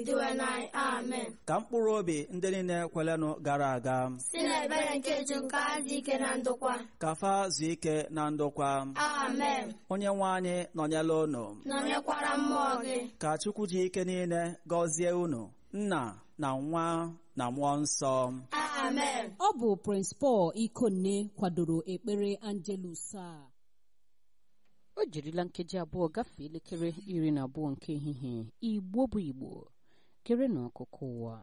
Dinwenụ. Amen. Ka mkpụrụ obi ndị niile kwelenụ gara aga si n'ebere nke Chukwu ka ha zuo ike na ndokwa. Ka fa zuo ike na ndokwa. Amen. Onye nwe anyị nọnyere unu. Nọnyekwara mmụọ gị. Ka Chukwu ji ike niile gọzie unu, Nna na Nwa na Mmụọ Nsọ. Amen. Ọ bụ Prince Paul Ikonne kwadoro ekpere Angelus a. O jirila nkeji 2 gafee elekere 12 nke ehihie. Igbo bụ Igbo, kere n'ọkụkụ ụwa.